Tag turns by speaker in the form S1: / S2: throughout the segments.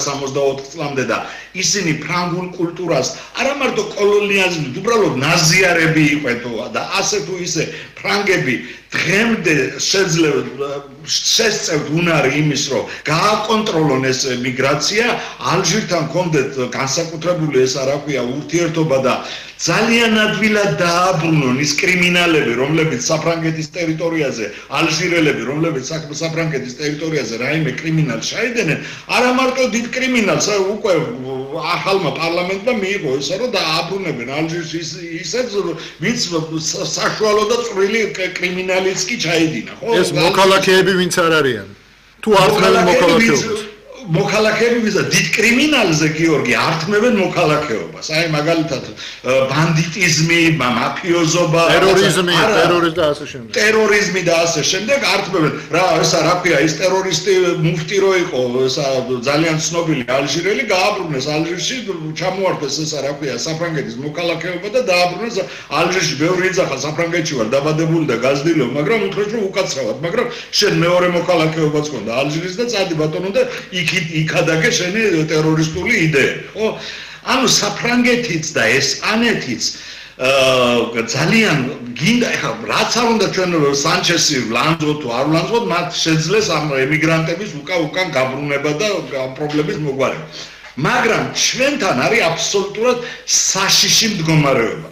S1: 1964 წლამდე და ისინი ფრანგულ კულტურას არა მარტო კოლონიალიზმით, უბრალოდ ნაზიარები იყვნენ და ასე თუ ისე ფრანგები დღემდე შესწევთ უნარი იმის, რომ გააკონტროლონ ეს მიგრაცია, ალჟირთან ჰქონდეთ განსაკუთრებული ეს რა ქვია ურთიერთობა და ძალიან ადვილად დააბრუნონ ის კრიმინალები, რომლებიც საფრანგეთის ტერიტორიაზე, ალჟირელები, რომლებიც საფრანგეთის ტერიტორიაზე რაიმე კრიმინალს ჩაიდნენ, არა მარტო დიდ კრიმინალს, უკვე ახალმა პარლამენტმა მიიღო ესა, რომ დააბრუნებენ ალჟირს ისეთ, ვინც საშუალო და წვრილი კრიმინალიც კი ჩაიდინა, ხო?
S2: ეს მოქალაქეები ვინც არ არიან? თუ ართმევენ მოქალაქეობას?
S1: მოქალაქეები ვიზა დიდ კრიმინალზე გიორგი ართმევენ მოქალაქეობას. აი მაგალითად ბანდიტიზმი, მაფიოზობა,
S2: ტერორიზმი და ასე შემდეგ.
S1: ტერორიზმი და ასე შემდეგ ართმევენ. რა ქვია, ის ტერორისტი მუფტი რო იყო, ესა ძალიან ცნობილი ალჟირელი, გააბრუნეს ალჟირში, ჩამოართვეს ესა რა ქვია, საფრანგეთის მოქალაქეობა და დააბრუნეს ალჟირში. ბევრი იძახა საფრანგეთში ვარ დაბადებული და გაზრდილობ, მაგრამ უთხრეს რომ უკაცრავად, მაგრამ შენ მეორე მოქალაქეობაც ჰქონდა ალჟირის და წადი ბატონო და იქადაგე შენი ტერორისტული იდეები, ხო? ანუ საფრანგეთიც და ესპანეთიც ძალიან გინდა ეხლა რაც არ უნდა ჩვენ სანჩესი ვლანძოთ თუ არ ვლანძოთ, მათ შეძლეს ამ ემიგრანტების უკან გაბრუნება და პრობლემის მოგვარება. მაგრამ ჩვენთან არის აბსოლუტურად საშიში მდგომარეობა.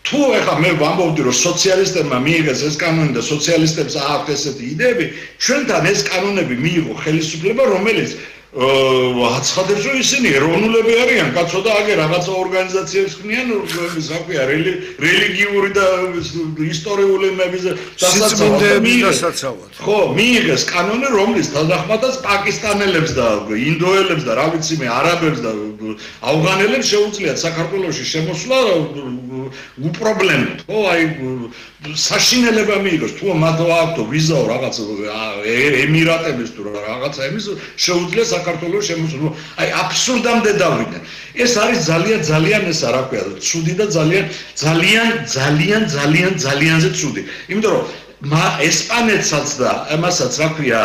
S1: თუ ეხლა მე ვამბობდი რომ სოციალისტებმა მიიღეს ეს კანონი და სოციალისტებს აქვთ ესეთი იდეები, ჩვენთან ეს კანონები მიიღო ხელისუფლება, რომელიც აცხადებს რომ ისინი ეროვნულები არიან, კაცო და აგე რაღაცა ორგანიზაციებს ქმნიან, რა ქვია, რელიგიური და ისტორიული იმების
S2: დასაცავად.
S1: ხო, მიიღეს კანონი, რომლის თანახმადაც პაკისტანელებს და ინდოელებს და რა ვიცი მე, არაბებს და ავღანელებს შეუძლიათ საქართველოში შემოსვლა უპრობლემოდ, ხო, აი საშინელება მიიღოს, თუ მათ აქვთ ვიზაო რაღაც ემირატების თუ რაღაცა იმის შეუძლია საქართველოს შემოსვლა. აი აბსურდამდე დავიდნენ. ეს არის ძალიან ესა რა ქვია, ცუდი და ძალიანზე ცუდი. იმიტომ რომ ესპანეთსაც და ამასაც რა ქვია,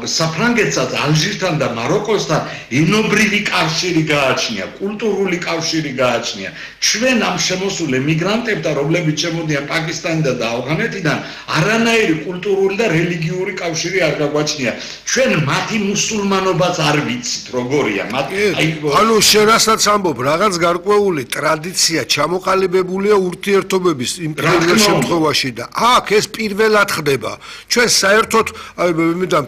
S1: საფრანგეთსაც, ალჟირთან და მაროკოსთან ენობრივი კავშირი გააჩნია, კულტურული კავშირი გააჩნია. ჩვენ ამ შემოსულ ემიგრანტებთან, რომლებიც შემოდიან პაკისტანიდან და ავღანეთიდან, არანაირი კულტურული და რელიგიური კავშირი არ გაგვაჩნია. ჩვენ მათი მუსულმანობაც არ ვიცით, როგორია.
S2: ანუ შენ რასაც ამბობ, რაღაც გარკვეული ტრადიცია ჩამოყალიბებულია ურთიერთობების იმ შემთხვევაში და აქ ეს პირველად ხდება. ჩვენ საერთოდ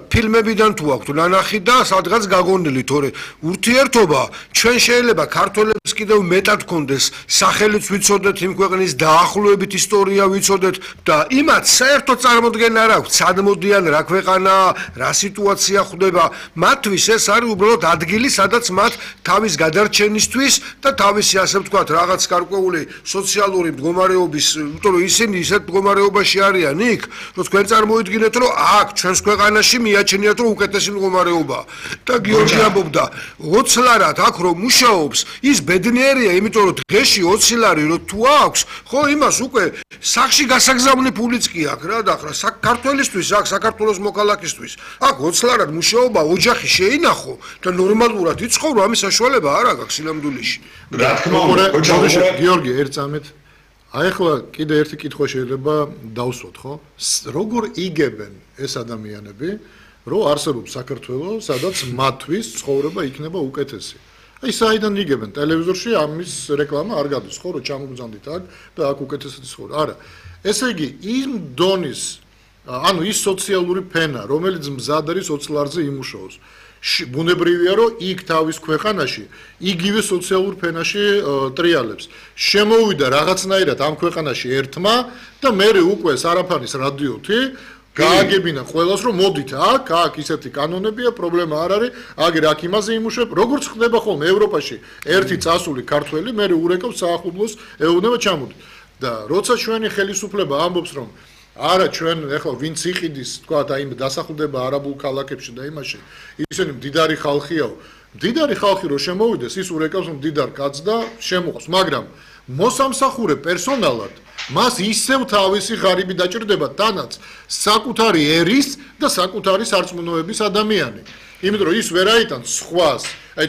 S2: ფილმებიდან თუ აქვთ ნანახი და სადღაც გაგონილი, თორე ურთიერთობა ჩვენ შეიძლება ქართველებს კიდევ მეტად გქონდეს, სახელიც ვიცოდეთ იმ ქვეყნის დაახლოებით ისტორია ვიცოდეთ და იმათ საერთოდ წარმოდგენა არ აქვს, სად მოდიან, რა ქვეყანა, რა სიტუაცია ხდება. მათთვის ეს არის უბრალოდ ადგილი, სადაც მათ თავის გადარჩენისთვის და თავისი ასე ვთქვათ, რაღაც გარკვეული სოციალური მდგომარეობის, იმიტომ რომ ისინი ისეთ მდგომარეობაში არიან იქ, რომ თქვენ წარმოიდგინეთ, რომ აქ ჩვენს ქვეყანაში მიაჩნიათ, რომ უკეთესი მდგომარეობაა. და გიორგი ამბობდა, 20 ლარად აქ რომ მუშაობს, ის ბედნიერია, იმიტომ რომ დღეში 20 ლარი რომ თუ აქვს, ხო, იმას უკვე სახში გასაგზავნი ფულიც კი აქვს რა და ახლა საქართველოსთვის, აქ საქართველოს მოქალაქისთვის, აქ 20 ლარად მუშაობა, ოჯახი შეინახო და ნორმალურად იცხოვრო, ამის საშუალება არ აქვს სინამდვილეში.
S1: რა თქმა უნდა,
S2: გიორგი, ერთ წამით აი ახლა კიდე ერთი კითხვა შეიძლება დავსვათ, ხო? როგორ იგებენ ეს ადამიანები, რომ არსებობს საქართველო, სადაც მათთვის ცხოვრება იქნება უკეთესი? აი საიდან იგებენ? ტელევიზორში ამის რეკლამა არ გადის, ხო, რომ ჩამოგზავნით აქ და აქ უკეთესი ცხოვრება. არა. ესე იგი, იმ დონის, ანუ ის სოციალური ფენა, რომელიც მზად არის 20 ლარზე იმუშაოს. ბუნებრივია, რომ იქ თავის ქვეყანაში იგივე სოციალურ ფენაში ტრიალებს. შემოვიდა რაღაცნაირად ამ ქვეყანაში ერთმა და მერე უკვე სარაფანის რადიოთი გააგებინა ყველას, რომ მოდით აქ ისეთი კანონებია, პრობლემა არ არის, აგერ აქ იმაზე იმუშავებ, როგორც ხდება ხოლმე ევროპაში. ერთი წასული ქართველი მერე ურეკავს საახუბლოს, ეუბნება ჩამოდით. და როცა ჩვენი ხელისუფლება ამბობს, რომ არა ჩვენ ეხლა ვინც იყიდის თქვა და იმ დასახლდება არაბულ ქალაქებში და იმაში ისინი მდიდარი ხალხიაო მდიდარი ხალხი რო შემოვიდეს ის ურეკავს მდიდარ კაცს და შემოყავს მაგრამ მოსამსახურე პერსონალად მას ისევ თავისი ღარიბი დაჭირდება თანაც საკუთარი ერის და საკუთარი სარწმუნოების ადამიანი იმიტომ რომ ის ვერ აიტანს სხვას. აი